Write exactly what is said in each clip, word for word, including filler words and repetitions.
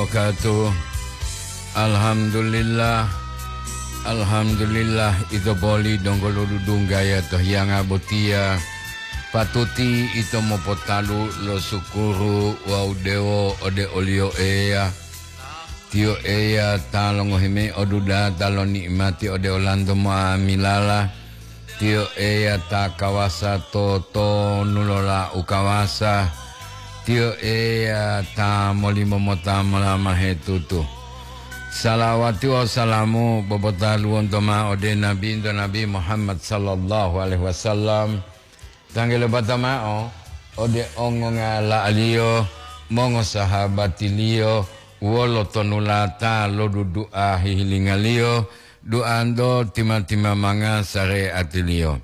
Katu. Alhamdulillah. Alhamdulillah, ito poli donggo lo dudunggaya to hiyanga botiya. Patuti ito mopotalu lo sukuru wawu dewo ode oliyo Eya. Tiyo Eya ta longohi mayi odudata lo ni'imati ode olanto mo'amilala. Tiyo Eya ta kawasa to tonu lo la u kawasa. Tiyo Eya ta molimo mota molamahe tutu. Salawati wawu salamu bobotaluwonto ma'o ode Nabinto Nabi Muhammad sallallahu alaihi wasallam. Tanggele bata ma'o ode ongongala'aliyo, mongosahabatiliyo, wolo tonulata lo dudu'a hihilingaliyo, duanto tima-timamanga sare'atiliyo.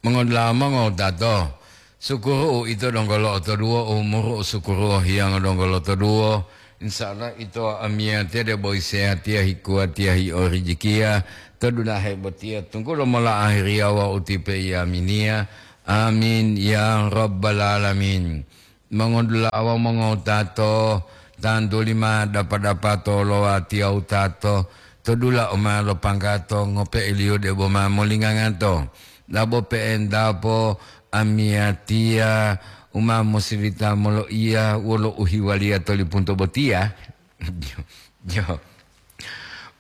Mongodula'a mongowutato, sukuru'u ito donggo lo'otoduwo, umuru'u sukuru'u hiyanga donggo lotoduwo. Insya Allah ito amiyatiya debo isehatiya hikuwatiya hi'orijikiya to dulahe botiya tunggulo mola ahiriya wawu tipe iyaminiya. Amin ya rabbal alamin. Mongodula'a wawu mongowutato, tantuli ma dapa-dapato lo watiya wutato to dula'u ma lo panggato ngope'eliyo debo ma molingangato. Dabo pe'entapo amiyatiya u ma mosilita moloiya wolo uhiwaliya to lipunto botiya. Jo, jo.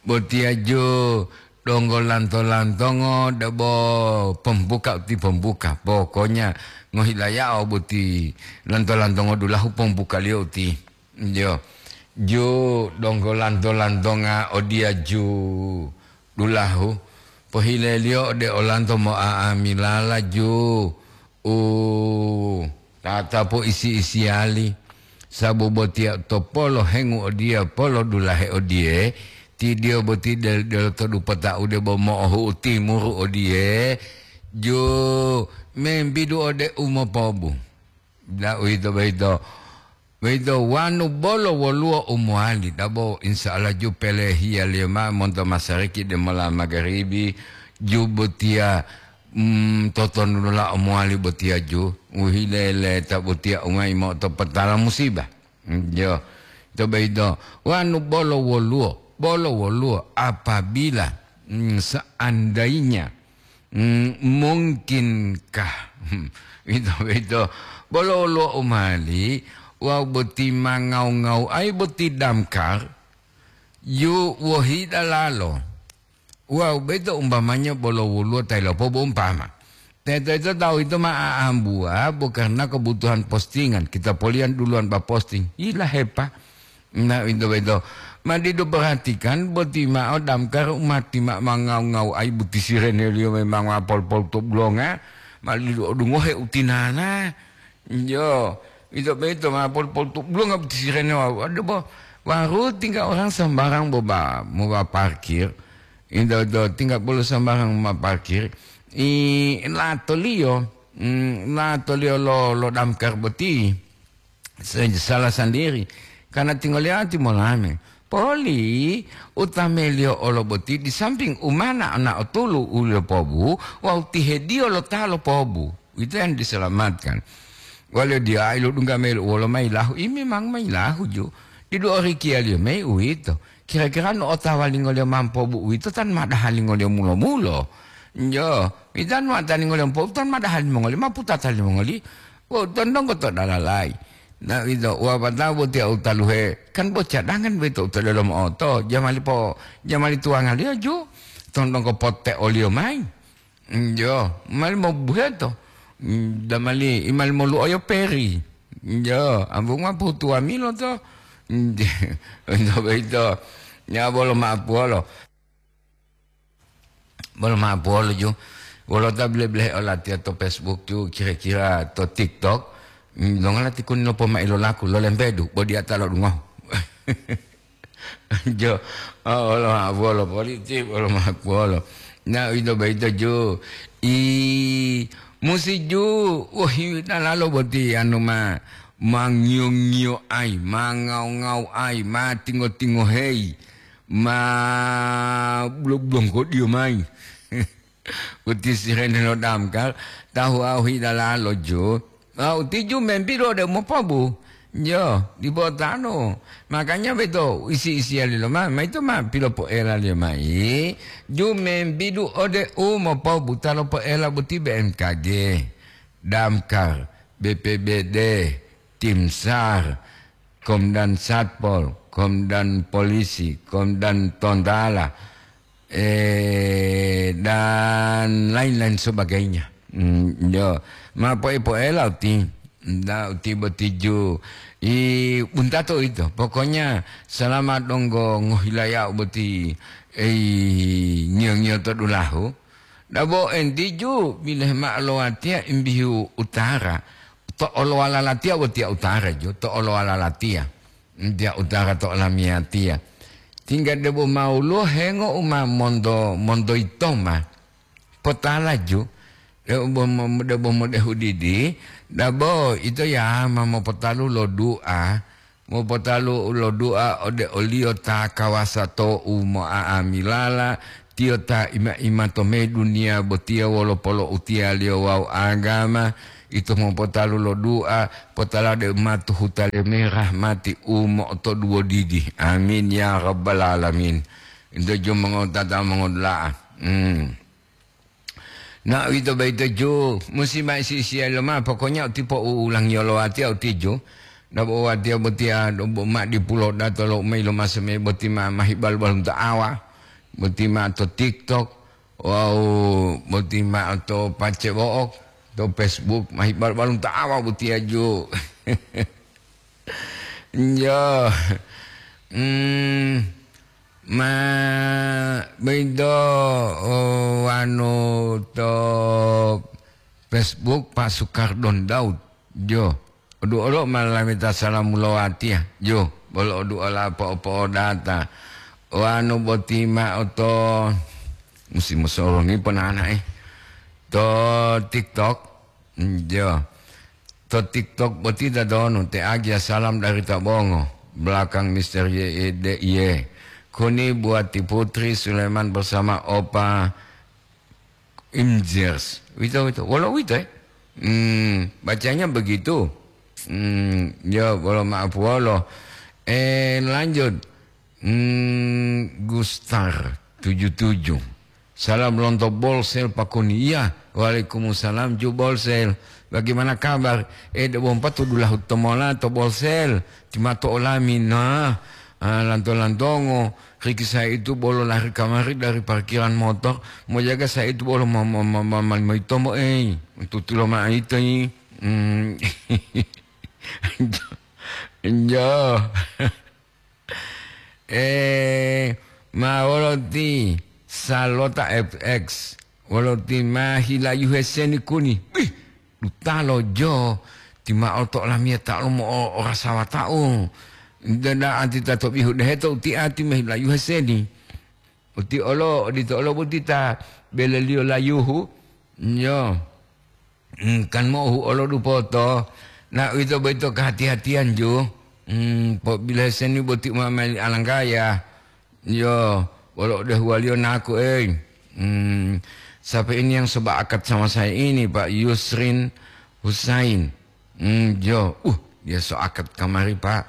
Botiya ju donggo lanto-lantongo debo pembuka uti pembuka. Pokoknya ngohilayao boti lanto-lantongo dulahu pembukaliyo uti. Jo, ju donggo lanto-lantonga odiya ju dulahu. Pohileliyo ode olanto mo'a'amilala ju u tatapu isi-isiyali, sabu botiya to polo hengu odiye, polo dulahe odiye, tidiyo boti del-, delo to dupota'u debo mo'ohu'u timuru odiye, ju membidu ode u mopobu. Da uwito boyito, boyito wanu bolo woluwo u mowali, dabo insya Allah ju pelehiyaliyo ma'o monto masariki demola magaribi, ju botiya, mm, totonulolao mowali botiya ju, u hileleta botiya u ma yimoto potala musiba. Mm, jo. To boyito, wanu bolo woluwo, bolo woluwo apabila, mm, seandainya, mm, mungkinkah, ito boyito, bolo woluwo u mali, wawu boti ma ngau-ngau ai boti damkar, yu wohi dalalo. Wawu boyito umpamanya bolo woluwo ta yilopobu umpama. Teto-teto tawu yito ma aambuwa bo karna kebutuhan postingan, kita poliyan duluwan ba posting. Yilahepa. Na, uwito boyito. Ma didu perhatikan boti ma'o damkar u mati ma-, ma ngau-ngau ai boti sireneliyo memang ma pol-pol to bulonga, ma didu odungohe utinana. Jo, ito boyito ma pol-pol to bulonga boti sirene wa-, waduh bo, waru tinggal orang sembarang boba, moba parkir. Ito, ito tinggal bolo sembarang ma parkir. I latoliyo, mm, latoliyo lo, lo damkar boti. Se-, salah sendiri. Karena tinggal lihat molame. Poli, utameliyo olo boti di samping umana ana otulu uliyo pobu, wawu tihediyo lo ta lopobu. Ito yang diselamatkan. Waliyo diya ilodungga melu wolo mayi lahu, i memang mayi lahu ju. Didu orikiyaliyo mayi uwito. Kira-kira no otawa lingoliyo mampobu uwito tan ma dahalingoliyo mulo-mulo. Jo, itan ma taningoliyo mampobu tan ma dahalimongoli, ma putata limongoli. Wo, tondonggo to dalalai. Na ito, wapatao botiya u taluhe, kan bo cadangan boyito u to delomo oto, jamali po, jamali tuwangaliyo ju, tondonggo potte oliyo mayi. Jo, mali mobuheto. Damali, i mali moluoyo peri. Jo, ambunga putuwamilo to. Ito boyito. Ya, bolo ma'apuwolo. Bolo ma'apuwolo ju. Wolo ta bile-bilehe olatiya to Facebook ju, kira-kira to TikTok. Dongala tikuni lopomai lolaku, lolempedu, bo diyata lodungohu. Jo, oh, wolo ma'apuwolo, politi, wolo ma'apuwolo. Na, ito boyito ju. I, musi ju, wohi dalalo boti anu ma, mangiyo-ngiyo ai, mangau-ngau ai, matingo-tingoheyi, ma bulo-bulongkodiyo mayi. Uti sirene lo damkar, tahu ahu hidalalo ju. Ah, uti ju membidu ode mopobu. Yo, dipo tanu. Makanya beto isi-isiya lilo ma, ma ito ma pilopoela liyo mai. Ju membidu ode u mopobuta lo poela boti B M K G, Damkar, B P B D, Tim SAR, Komdan Satpol, Komdan Polisi, Komdan Tontala, eh, dan lain-lain sebagainya. Hmm, yo, ma poe-poela uti. Nda uti boti ju. I buntato ito. Pokoknya selama donggo ngohilaya'u boti, ei, ngiyo-ngiyo to dulahu. Dabo enti ju bileh ma'o lowatiya imbihu utara. To olowala latiya wotiya utara ju, to olowala latiya. Tiya utara to olamiyatiya. Tingga debo mawuluwo hengo u ma monto, monto yitoma. Potala ju, debo mo-, debo modehu didi, dabo ito ya ma mopotalu lo du'a, mopotalu lo du'a ode oliyo ta kawasa to u mo'a'amilala, tiyo ta ima-ima to me duniya botiya wolo polo'utiyaliyo wawu agama, ito mopotalu lo du'a, potala de ma to huta le me rahmati u mo'otoduwo didi. Amin ya rabbal alamin. Ito ju mongotata mongodula'a. Hmm. Na uwito boyito ju, musi ma isi-isiya loma, pokoknya uti po'uulangiyo lo watiya uti ju. Dabo watiya botiya, dabo ma dipulo dato lo mayi lo maso me boti ma, ma hibal-balunto awa. Boti ma to TikTok. Wawu boti ma'o to pacebo'o, to Facebook, ma hibal-balunto awa botiya ju. Yo. Hmm, ma boyito, o, wanu to Facebook Pak Sukardon Daud. Jo, odu olo ma lameta salamu lo watiya. Jo, bolo odu ola po'o-po'odata. Wanu boti ma'o to musi mosoro ni ponana'e. To TikTok. Jo. To TikTok boti dadonu te agia salam dari Tabongo. Belakang Mister Y E D Y. Kuni buat Ti Putri Sulaiman bersama Opa Imjers. Wito, wito. Wolo wito, eh? Hmm, bacanya begitu. Hmm, ya, wolo maaf wolo. Eh, lanjut. Hmm, Gustar tujuh tujuh. Salam lonto Bolsel Pakoni. Iya, waalaikumsalam ju Bolsel. Bagaimana kabar? Eh, debo mpa to dulahu tomola to Bolsel. Timato olami, nah. Ah, lanto-lantongo. Riki saya itu bolo lari kamari dari parkiran motor, mau jaga saya itu bolo ma-, ma-, ma-, ma-, ma-, maitomo, eh, tutulo ma'o ito, eh. Hmm. Jo. Eh, ma wolo ti Salota F X, wolo ti ma hilayuhe seni kuni. Bih, dutalo jo, ti ma'o to olamiyata lo mo'o-, orasawata'u. Dada ati ta to bihu deheto uti ati ma hilayuhe seni. Uti olo, odito olo boti ta beleliyo layuhu. Yo. Hmm, kan mo'ohu olo dupoto. Na uwito boyito kehati-hatiyan ju. Hmm, pobilohe seni boti uma meli alanggaya. Yo, wolo odehuwaliyo naku, ei. Hmm, siapa ini yang sebaakat sama saya ini, Pak Yusrin Husain? Hmm, jo. Uh, dia so akad kamari, Pak.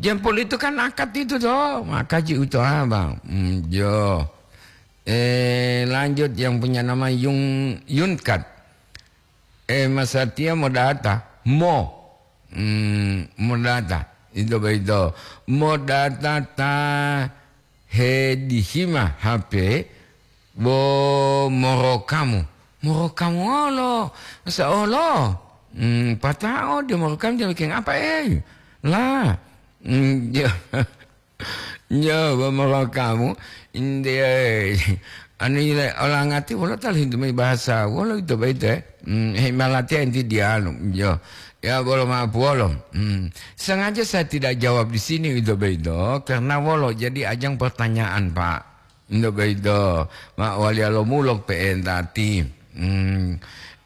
Jempol itu kan akad itu, toh. Maka ji uto abang. Hmm, jo. Eh, lanjut yang punya nama Yung, Yunkat. Eh, Mas Satya mau data? Mo. Hmm, mau data. Itu begitu. Mau data ta hedihima H P bo morokamu. Morokamu olo. Masa olo? Hmm, patao dia morokamu dia bikin apa, eh? Lah. Hmm, dia Nyo, bo morokamu, inde, anu ile, olangati wolo talu hintu mayi bahasa, wolo ito boyito, eh? Hmm, hei malatiya inti diyalu, nyo. Ya, bolo ma'o puwolo. Hmm. Sengaja saya tidak jawab di sini ito boyito, karena wolo jadi ajang pertanyaan, Pak. Ito boyito, ma waliya lo mulok pe'enta ti. Hmm.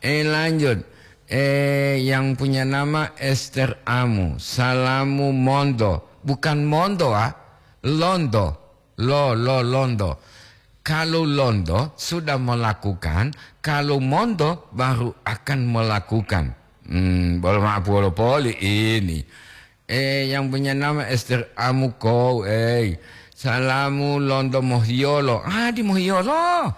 Eh, lanjut. Eh, yang punya nama Esther Amu. Salamu monto. Bukan monto, ah. Lonto. Lo, lo, lonto. Kalau lonto sudah melakukan, kalau monto baru akan melakukan. Hmm, bolo ma'o puwolo poli ini. Eh, yang punya nama Esther Amuko, eh. Salamu lonto Mohiyolo. Ah, di Mohiyolo.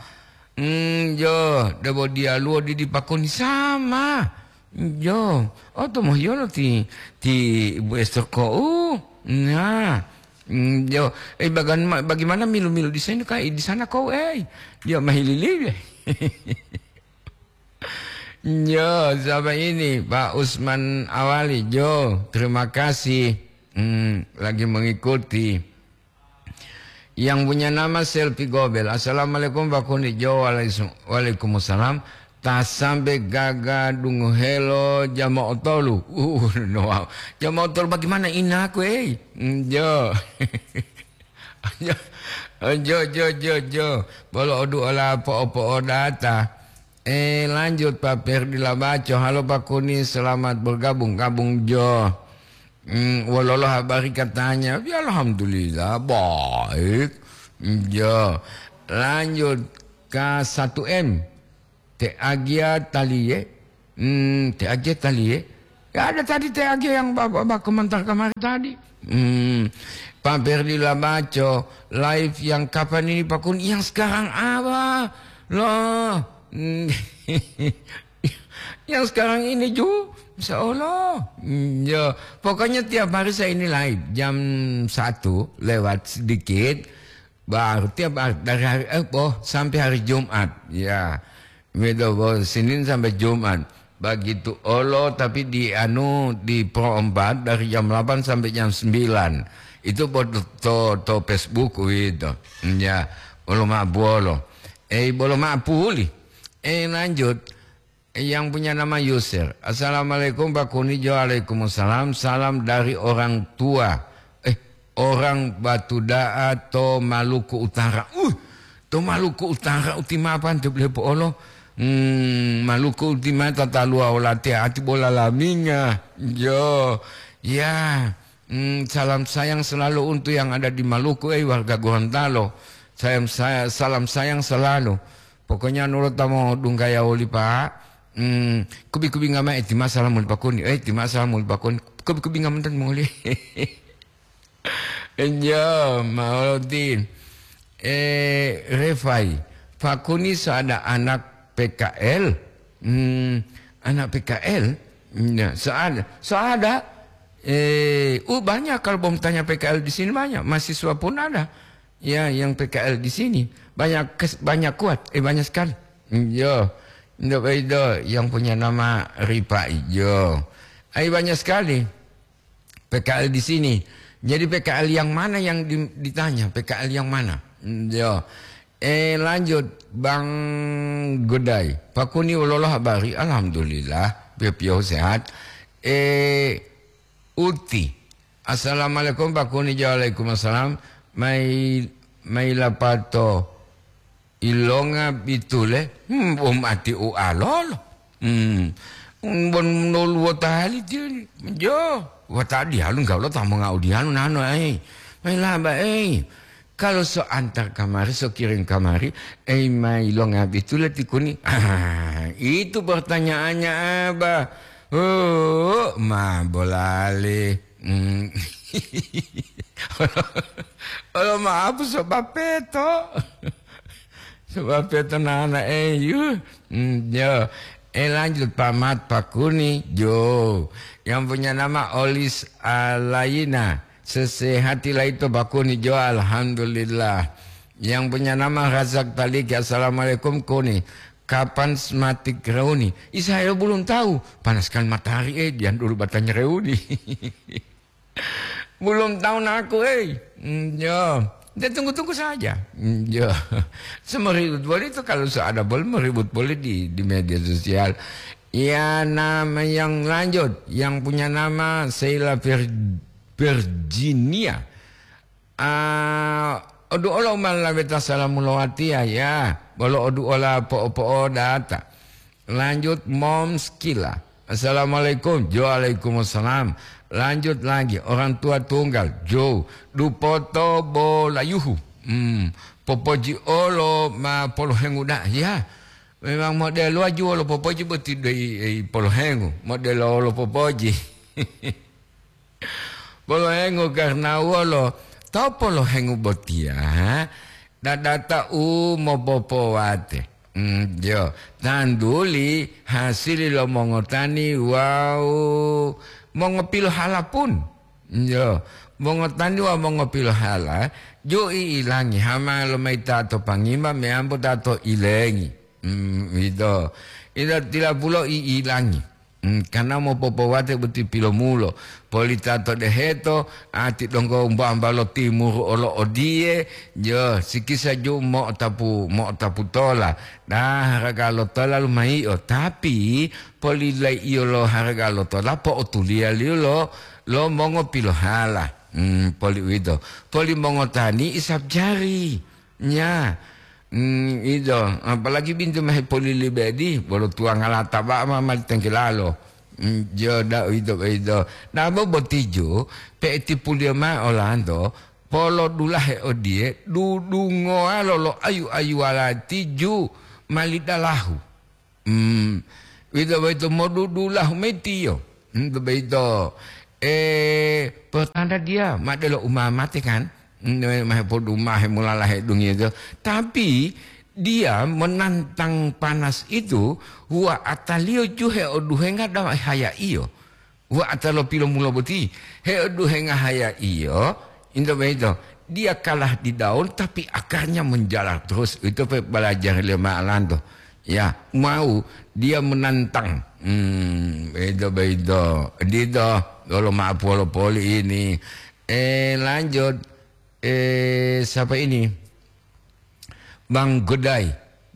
Hmm, jo, debo dialuwo didi pakoni sama. Jo, oh, to Mohiyolo ti, ti Ibu Esther ko. Uh, nah. Hmm, jo, eh, bagan-, bagaimana milu-milu di sana, Kak? Di sana ko, eh. Jo, mahililibe. Jo, siapa ini? Pak Usman Awali. Jo, terima kasih. Hmm, lagi mengikuti. Yang punya nama Selfie Gobel. "Assalamualaikum, Pak Kuni." Jo, waalaikum-, waalaikumsalam. "Ta sambe gaga dungohelo jama otolu." Uh, no, wow. Jama otolu bagaimana inaku, eh? Hmm, jo. Jo, jo, jo, jo, jo. Bolo odu ola po'o-po'o data. Eh, lanjut, Pak Ferdi Labaco. "Halo, Pak Kuni, selamat bergabung." Gabung, jo. Hmm, wololo habari katanya? Ya, alhamdulillah, baik. Jo. Lanjut, K satu M. Te Agia taliye. Hmm, Te Agia taliye. Ya, ada tadi Te Agia yang Bapak, Bapak komentar kemarin tadi. Hmm, Pak Ferdi Labaco, live yang kapan ini, Pak Kun? Yang sekarang apa? Loh, hmm, yang sekarang ini, Ju. Insya Allah. Hmm, ya, pokoknya tiap hari saya ini live jam satu lewat sedikit. Baru tiap hari, dari hari, eh, oh, sampai hari Jumat. Ya, begitu, oh, Senin sampai Jumat. Begitu olo, tapi di anu, di Pro empat dari jam delapan sampai jam sembilan. Itu buat to, to Facebook gitu. Ya, olo ma bolo. Eh, bolo ma puli. Eh, lanjut. Yang punya nama Yusir. "Assalamualaikum, Pak Kuni." Jo, waalaikumsalam. "Salam dari orang tua." Eh, orang Batu Da'a to Maluku Utara. Uh, to Maluku Utara uti mapan to bele po'olo. Hmm, Maluku uti mata talua olate ati bola laminga. Jo, ya. Hmm, salam sayang selalu untuk yang ada di Maluku, eh, warga Gorontalo. Sayang saya, salam sayang selalu. Pokoknya nurut tamo dunggaya oli, Pak. Hmm, kubi-kubi nggak main, eh, tima salam muli Pak Kuni. Eh, tima salam muli Pak Kuni. Kubi-kubi nggak menten muli. Enjo, Mauludin. Eh, Refai. Pak Kuni so ada anak P K L. Hmm, anak P K L? Ya, so ada. So ada. Eh, uh, banyak kalau mau tanya P K L di sini banyak. Mahasiswa pun ada. Ya, yang P K L di sini. Banyak kes-, banyak kuat. Eh, banyak sekali. Yo. Ndak beda yang punya nama Ripa Ijo. Ai banyak sekali. P K L di sini. Jadi P K L yang mana yang di-, ditanya? P K L yang mana? Hmm, yo. Eh, lanjut, Bang Godai. Pak Kuni wololo habari? Alhamdulillah, pio-pio sehat. Eh, Uti. Assalamualaikum, Pak Kuni. Waalaikumsalam. Mai, mai lapato. Ilonga bitule, hmm, wom ati ualolo. Hmm. Bon noluwo tali tiyo, jo, wata dialu enggak lo tamu ngau dialu nano, eh. Mai laba, eh. Kalau so antar kamari, so kirim kamari, eh, mai longa bitule ti Kuni. Ah, itu pertanyaannya, Abah. Oh, ma bolale. Hmm. Olo maaf, sebab peto. Sebab peto nana eyu. Hmm, yo. Eh, lanjut, Pak Mat, Pak Kuni, jo. Yang punya nama Olis Alaina. Sesehati laito, Pak Kuni, jo, alhamdulillah. Yang punya nama Razak Taliki, "Assalamualaikum, Kuni. Kapan sematik reuni?" Ih, saya belum tahu. Panas sekali matahari, eh, jangan dulu batanya reuni. Belum tahu naku, eh. Hmm, yo. Dia tunggu-tunggu saja. Hmm, yo. Semeribut boleh itu kalau so ada boleh meribut boleh di, di media sosial. Ya, nama yang lanjut, yang punya nama Sheila Vir-, Virginia. Ah, odu olo umalaweta salamu lowatiya, ya. Bolo odu ola po'o-po'o data. Lanjut, Moms Kila. "Assalamualaikum." Jo, waalaikumsalam. Lanjut lagi, orang tua tunggal. Jo, dupoto bolayuhu. Hmm, popoji olo ma polohengu da. Ya, memang model waju olo popoji boti doi, eh, polohengu. Model olo popoji. Polohengu karna wolo? To polohengu botiya, dadata u mopopowate. Mm, jo, tanduli hasili lo mongotani wawu mongopilohala pun. Jo, mongotani wawu mongopilohala, jo i'ilangi, hama lomayi ta to pangima meyambo ta to ilengi. Mm, ito. Ito tilapulo i'ilangi. Mm, karna mopopowate boti pilomulo. Poli ta to deheto, ati donggo mbamba lo timuru olo odiye, jo, sikisa ju mo'otapu, mo'otapu tola. Nah, haraga lo tola lumaiyo, tapi poli laiyo lo haraga lo tola po'otuliyaliyo lo, lo mongopilohala. Mm, poli uwito. Poli mongotani isab jari. Nya, mm, ito, apalagi bintu ma hepolili bedi, bolo tuwanga lata ba'a ma mali tengkelalo. Mm, jo, da, ito, ito. Nabo botijo, pe'etipuliyo ma'o olanto, polodulahe odiye, dudungowa lolo ayu-ayuwala tiju mali dalahu. Hmm, uwito boyito modudulahu mayi tiyo. Hmm, to boyito, eh, pertanda dia ma delo umamate kan? Hmm, ma hepodumahe molalahe dungiyo. Tapi dia menantang panas itu, huwa ataliyo juhe oduhenga dawa hayaiyo. Wa'ata lo pilomulo boti, heoduhenga hayaiyo, into boyito, dia kalah di daun, tapi akarnya menjalar terus. Itu pe balajar lema alanto. Ya, mau dia menantang. Hmm, itu boyito. Dito, lolo maaf wolo poli ini. Eh, lanjut. Eh, siapa ini? Bang Godai.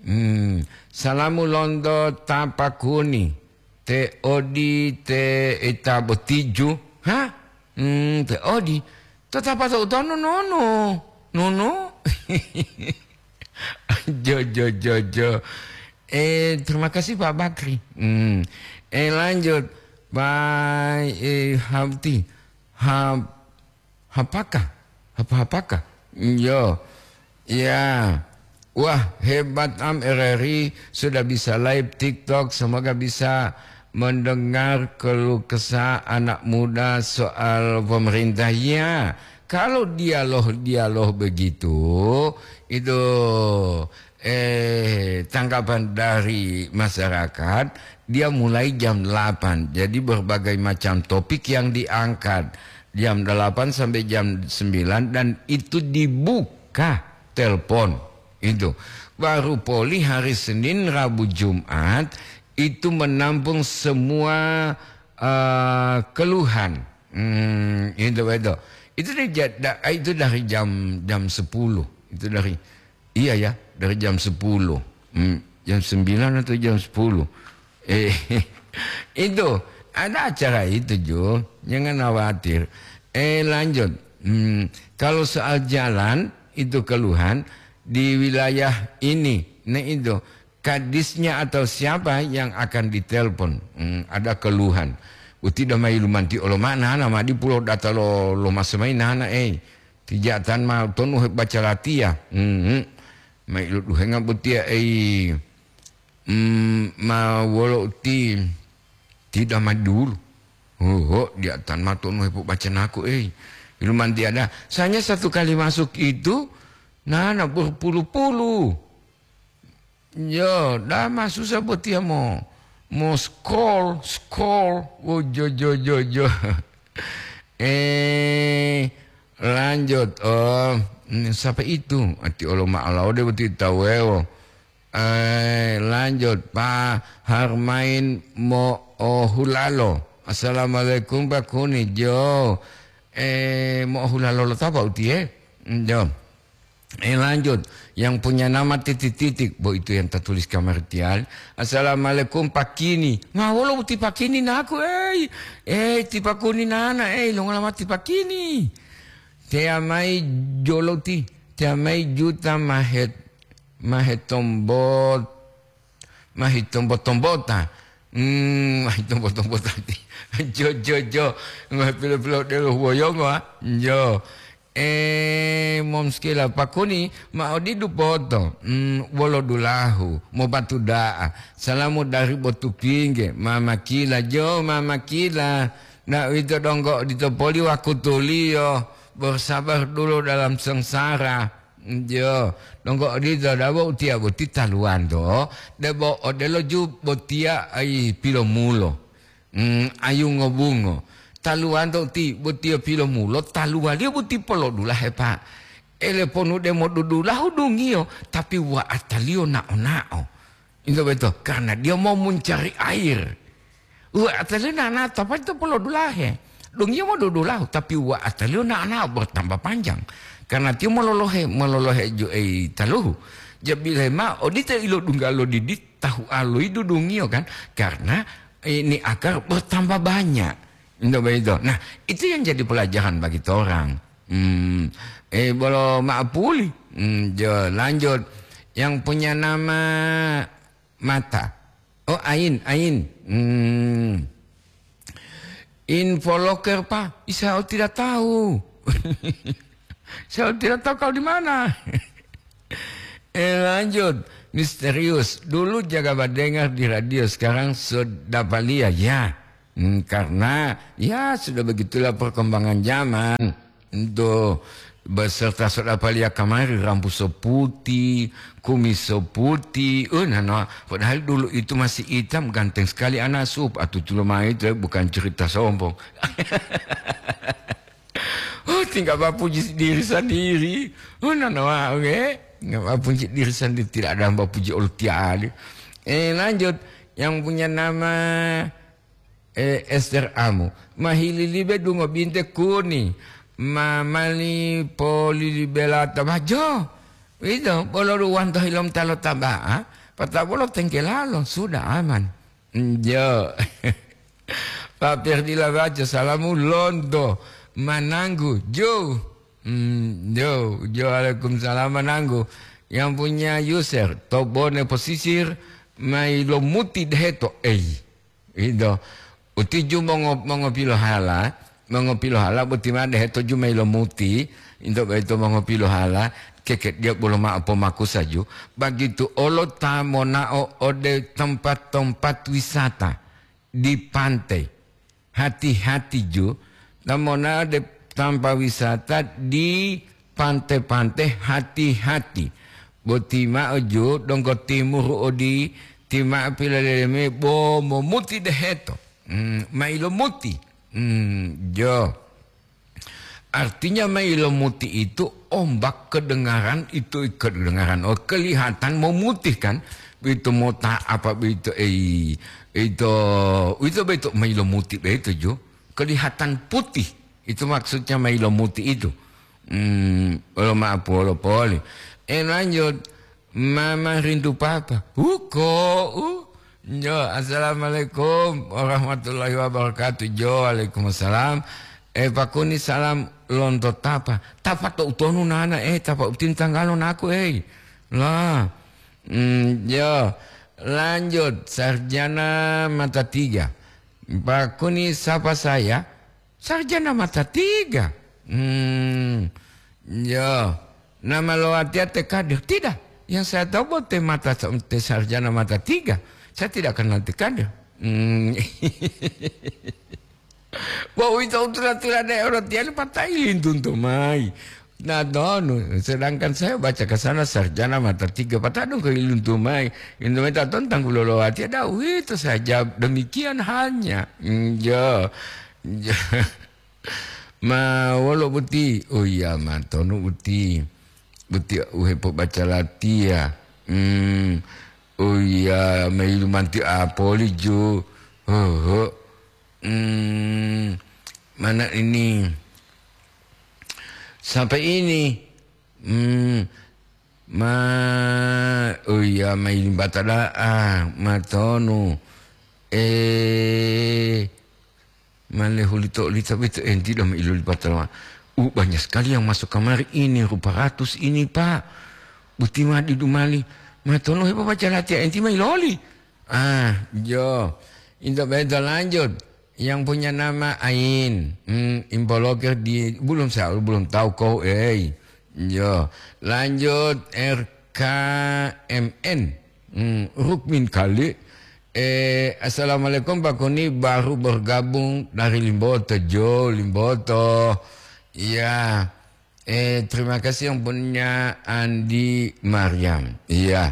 Hmm. Salamu lonto tapakuni. Te odi te ita botiju. Ha? Hmm, te odi. Tetapa to utono nono. Nono. Jo, jo, jo, jo. Eh, terima kasih Pak Bakri. Hmm. Eh, lanjut. Pak, eh, Habti. Hab-, Hapaka? Hapa-hapaka? Yo. Ya. Wah, hebat am R R I sudah bisa live TikTok. Semoga bisa mendengar keluh kesah anak muda soal pemerintah. Ya, kalau dialog-dialog begitu, itu eh, tanggapan dari masyarakat, dia mulai jam delapan. Jadi berbagai macam topik yang diangkat jam delapan sampai jam sembilan dan itu dibuka telepon. Itu. Baru poli hari Senin, Rabu, Jumat itu menampung semua, eh, keluhan. Hmm, itu betul. Itu dari ja-, da-, itu dari jam, jam sepuluh. Itu dari Iya ya, dari jam sepuluh. Hmm, jam sembilan atau jam sepuluh. Eh, itu, ada acara itu, Jo. Jangan khawatir. Eh, lanjut. Hmm, kalau soal jalan, itu keluhan di wilayah ini. Nah, itu, kadisnya atau siapa yang akan ditelepon. Hmm, ada keluhan. Uti damai lumanti olo ma'ana, nama di pulau data lo, lo masamai nana, eh. Tijatan ma tonu hebaca latiya. Mhm. Ma iloduhenga botiya, ei, mm, ma wolo uti tidak ma dulu. Hoho, diatan ma tonu hepobacanaku, ei. Ilumanti ada. Soalnya satu kali masuk itu, nana berpuluh-puluh. Yo, dama susah botiya mo, mo scroll, scroll. Oh, jo, jo, jo, jo. Eh, lanjut. Oh, mm, siapa itu? Ati olo ma'alaode boti tawewo. Eh, lanjut. Pa Harmain mo ohulalo. Assalamualaikum, Pak Kuni. Jo. Eh, mo ohulalo lo tapa utie? Jo. Eh, lanjut. Yang punya nama titik-titik, bo itu yang tertulis kamar tial. Assalamualaikum, Pak Kini. Ma wolo ti Pak Kini naku, ei. Eh, ti Pak Kuni nana, ei, longola ma ti Pak Kini. Tea mai joloti, tea mai juta mahet, mahetombot, mahitombo-tombota. Hmm, mahitombo-tombota ti. Jo, jo, jo. Ngohi pilo-pilo delo huwoyongo, ah. Jo. Eh, momskila pakuni ma odidu poto. Hmm, wolo dulahu, mobatu da'a. Salamu dari Botupingge, Mama Kila. Jo, Mama Kila. Nah, uwito donggo odito poli wakutuliyo, bersabar dulu dalam sengsara. Yo, donggo odito dabo utiya boti taluwanto, debo odelo ju botiya ai pilomulo. Hmm, ayu ngobungo. Taluwanto uti botiya pilomulo, taluwaliyo boti polodulahe, Pak. Ele ponu demo dudulahu dungiyo, tapi wa'ataliyo nao-nao. Into beto, karena dia mau mencari air. Wa'ataliyo nao-nao, tapi itu polodulahe. Dungiyo mau dudulahu, tapi wa'ataliyo nao-nao bertambah panjang. Karena tiyo mololohe, mololohe ju-, ei, taluhu. Jabile ma, odito ilodungga lo didi, tahu aloyi dudungiyo kan. Karena ini akar bertambah banyak. Into begitu. Nah, itu yang jadi pelajaran bagi orang. Hmm. Eh, bolo maapuli. Hmm, jo, lanjut. Yang punya nama mata. Oh, ain, ain. Hmm. Info loker, Pak. Saya tidak tahu. Saya tidak tahu kau di mana. Eh, lanjut. Misterius. Dulu jaga badengar di radio, sekarang sudah palia. Ya. Hmm, karena, ya, sudah begitulah perkembangan zaman. Tuh, beserta sudah palia kamari, rambu so putih, kumis so putih. Eh, nana, padahal dulu itu masih hitam, ganteng sekali anak sup. Atutulo mai itu, eh, bukan cerita sombong. Oh, tinggal bapuji diri sendiri. Oh, nana, oke. Nggak bapuji diri sendiri, tidak ada yang bapuji Allah tiali. Eh, lanjut. Yang punya nama, eh, Ester Amu. Mahililibe dungo binte kuni. Ma mali polilibela tabajo. Itu, bolo ruwanto hilom talo taba'a. Pata bolo tengkelalo, sudah aman. Njo. Pak Ferdila baca salamu lonto. Mananggu, jo. Hmm, jo, jo, waalaikumsalam, mananggu. Yang punya user, Tobone Posisir, mai lomuti deheto, ei. Ito, utiju mongo-, mongopilohala, mongopilohala boti ma deheto ju mai lomuti, into boyito mongopilohala, kekediyo bolo mao pomakusa ju, bagitu olo ta monao ode tempat-tempat wisata di pantai. Hati-hati ju, ta monao de tampa wisata di pante-pante, hati-hati. Boti mao ju donggo timuru odi, ti mao pilaleleme bo momuti deheto. Hmm, mailomuti. Hmm, jo. Artinya mailomuti itu ombak kedengaran itu, kedengaran, oh, kelihatan memutih kan. Begitu mota apa begitu, eh, itu, itu begitu mailomuti begitu ju. Kelihatan putih. Itu maksudnya mailomuti itu. Hmm, olo maaf, olo poli. Eh, lanjut. Mama rindu papa. Huko, uh. Jo, assalamualaikum warahmatullahi wabarakatuh. Jo, waalaikumsalam. Eh, pakuni salam lonto tapa. Tapa to utonu nana, eh, tapa utin tanggalo naku, eh. Lah. Hmm, jo. Lanjut, sarjana mata tiga. Pakuni sapa saya? Sarjana mata tiga. Hmm, ya. Nama lo watiya te kadir? Tidak. Yang saya tahu bahwa te mata, te sarjana mata tiga. Saya tidak kenal te kadir. Hmm. Wah, itu tula-tula daerah tiang patai lintuntu mai. Nah, donu, sedangkan saya baca ke sana sarjana mata tiga, patadung ke iluntu mai. Iluntu mai taton tanggulolo watiya, dah, itu saja. Demikian hanya. Hmm, ya. Ma wolo boti? Oh iya, ma tonu boti. Boti u hepobaca latiya. Hmm. Oh iya, mailu manti apoli ju. Hoho. Hmm. Mana ini? Sampai ini. Hmm. Ma, oh iya, mailu bata da'a, ma tonu. Eh, Male hulito-hulito boyito enti dama ilolipata lowali. Uh, banyak sekali yang masuk kamari ini, rupa ratus ini, Pak. Boti ma didu mali. Ma tonu hepobaca latiya enti ma iloli. Ah, jo. Into beta lanjut. Yang punya nama Ain. Hmm, impolokir di, belum sa-, belum tahu kau, eh. Jo. Lanjut R K M N. Hmm, Rukmin kali. Eh, assalamualaikum Pak Kuni, baru bergabung dari Limboto, Jo Limboto. Iya. Eh, terima kasih yang punya Andi Mariam. Iya.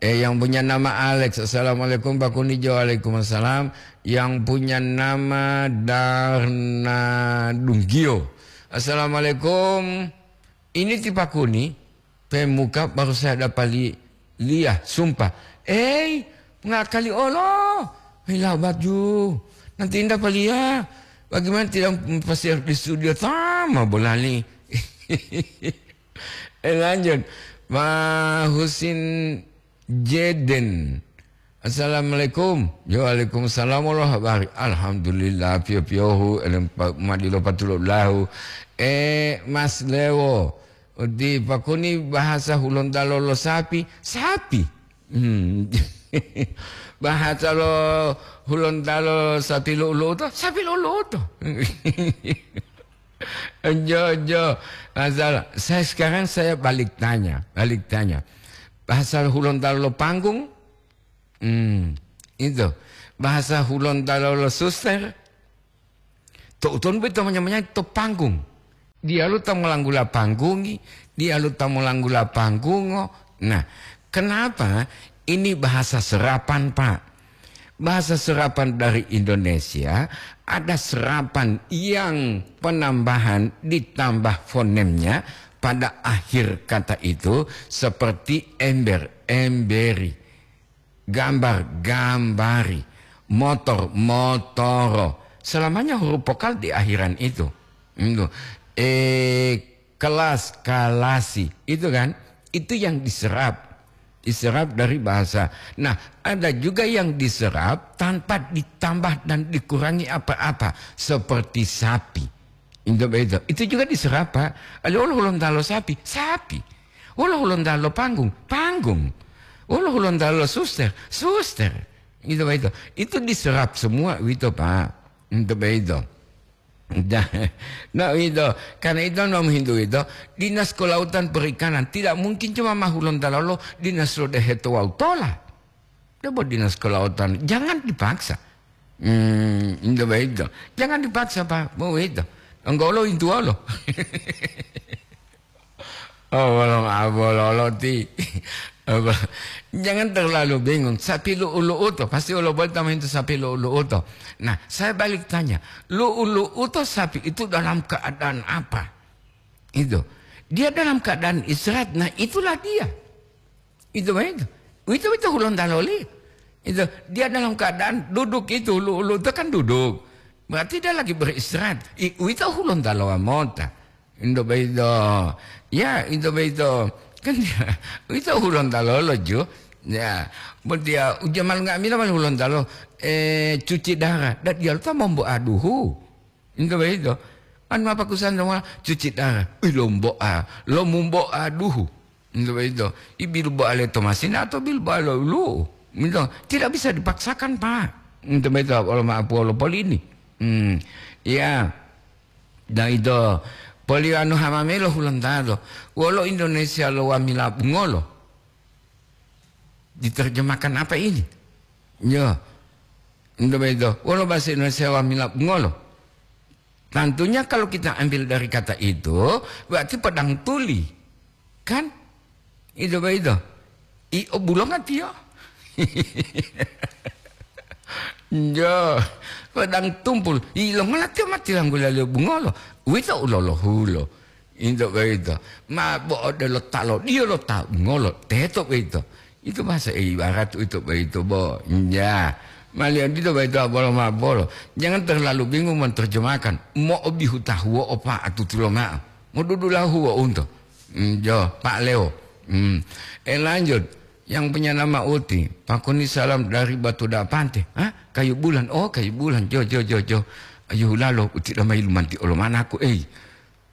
Eh, yang punya nama Alex. Assalamualaikum Pak Kuni, Jo. Waalaikumsalam. Yang punya nama Darna Dunggio. Assalamualaikum. Ini ti Pak Kuni, pemuka baru saya dapat li-, liya, sumpah. Eh, ngakali olo. Hei, labat ju. Nanti indah paliya. Bagaimana tidak pasir di studio tama bolali. Eh, lanjut. Ma Husin Jeden. Assalamualaikum. Yo, waalaikumsalam warahmatullahi wabarakatuh. Alhamdulillah, piyo-piyohu, elem pa-, madilo patulo lahu. Eh, Mas Lewo, di Pakuni bahasa Hulontalo lo sapi, sapi. Hmm. Bahasa lo Hulontalo sapi lu'u-lu'u to, sapi lu'u-lu'u to. Jo, jo. Masalah. Saya sekarang saya balik tanya, balik tanya. Bahasa Hulontalo lo panggung, hmm, itu. Bahasa Hulontalo lo suster, to utonu beto manya-manya to panggung. Dialu ta molanggula panggungi, dialu ta molanggula panggungo. Nah, kenapa ini bahasa serapan, Pak? Bahasa serapan dari Indonesia, ada serapan yang penambahan ditambah fonemnya pada akhir kata itu, seperti ember, emberi, gambar, gambari, motor, motoro. Selamanya huruf vokal di akhiran itu. Itu. Eh, kelas, kalasi. Itu kan? Itu yang diserap. Diserap dari bahasa. Nah, ada juga yang diserap tanpa ditambah dan dikurangi apa-apa, seperti sapi. Itu begitu. Itu juga diserap, Pak. Ada orang Hulontalo sapi, sapi. Orang Hulontalo panggung, panggung. Orang Hulontalo suster, suster. Itu begitu. Itu diserap semua itu, Pak. Itu begitu. Nah, nah, itu. Karena itu, nom hintu itu, Dinas Kelautan Perikanan tidak mungkin cuma ma Hulontalo lo, Dinas Lodeheto wawu tola. Coba Dinas Kelautan, jangan dipaksa. Hmm, itu begitu. Jangan dipaksa, Pak. Mau itu. Enggak lo, itu lo. Oh, belum, ah, bololo ti. Apa? Jangan terlalu bingung. Sapi lu'u-lu'u to, pasti olo boleh tambahin to sapi lu'u-lu'u to. Nah, saya balik tanya, lu'u-lu'u to sapi itu dalam keadaan apa? Itu. Dia dalam keadaan istirahat. Nah, itulah dia. Itu begitu. Itu, itu Hulontalo li. Itu, dia dalam keadaan duduk itu, lu'u-lu'u itu kan duduk. Berarti dia lagi beristirahat. I, itu Hulontalo mota. Indo begitu. Ya, indo begitu. Kan dia, itu Hulontalo lo ju. Ya, buat dia ujian malu nga'amila malu Hulontalo. Eh, cuci darah. Dan dia lupa mombo aduhu. Indo begitu. Anu apa kusan dong, cuci darah. Ih, lombo a, lomumbo aduhu. Indo begitu. I bilbo ale to masina atau bilbo ale lu. Indo tidak bisa dipaksakan, Pak. Indo begitu, kalau ma apuo lo polini. Hmm. Ya. Dan itu, poli anu hamamelo Hulontalo. Wolo Indonesia lo wamila bungolo. Diterjemahkan apa ini? Yo. Indo begitu. Wolo bahasa Indonesia wamila bungolo. Tentunya kalau kita ambil dari kata itu, berarti pedang tuli. Kan? Itu begitu. I obulonga tiyo. Jo, pedang tumpul. I longola tiyo mati langgula liyo bungolo. Uwito ulolohulo. Into boyito, ma bo odelo ta lodiyo lo ta ngolo teto boyito. Itu bahasa ibarat uwito boyito bo. Ya, maliyo dito boyito abolo ma bolo. Jangan terlalu bingung menerjemahkan. Mo'obihu tahuwo opa atutulo ma'o. Modudulahu wo unto. Mm, jo, Pak Leo. Mm. Eh, lanjut. Yang punya nama Uti. Pakuni salam dari Batu Dapante. Hah? Kayu Bulan. Oh, Kayu Bulan. Jo, jo, jo, jo. Ayu hulalo, Uti damai lumanti olo manaku, ei.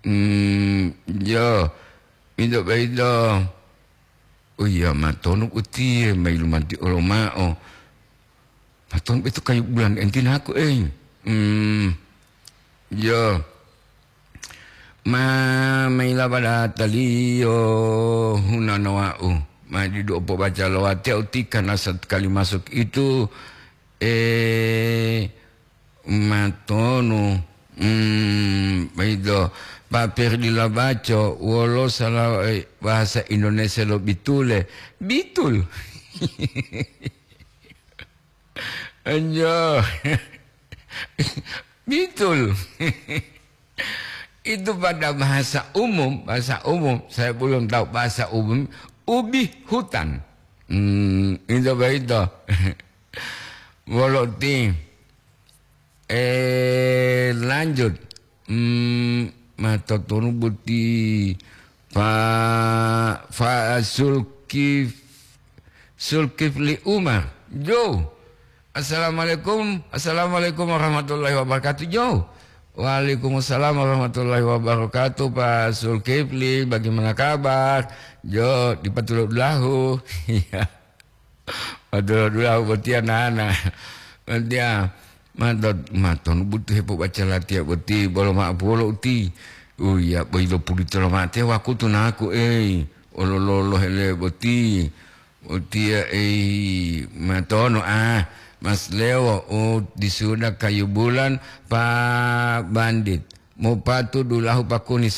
Hmm, ya, ida baida. Oh iya, matonu utiye, mailu manti olo ma'o. Matonu beto Kayu Bulan entinaku, eh. Hmm, ya. Ma, maila pada taliyo hunana wa'u. Ma didu opo baca lo watiya utika na satu kali masuk itu, Eh, matonu. Hmm, begitu. Pak Perdi Labaco, wolo sala, eh, bahasa Indonesia lo bitule? Bitul. Anjo. Bitul. Itu pada bahasa umum, bahasa umum, saya belum tahu bahasa umum, ubi hutan. Hmm, itu begitu. Wolo ti. Eh, lanjut. Hmm, matotonu boti Pak, Pak Sulkif-, Sulkifli Umar. Jo. Assalamualaikum. Assalamualaikum warahmatullahi wabarakatuh. Jo. Waalaikumsalam warahmatullahi wabarakatuh, Pak Sulkifli. Bagaimana kabar? Jo, dipatulodulahu. Iya. Waduh, dulahu botiya nana. Botiya, mato-, matonu butu hepobaca latiya boti, bolo ma'o polo uti. Uya, boyilo pulito lo mate wakutu naku, ei. Olololo hele boti. Botiya, ei, matono, ah. Mas Lewo, oh, di suda kayu bulan, Pak Bandit. Mopatu dulahu pakuni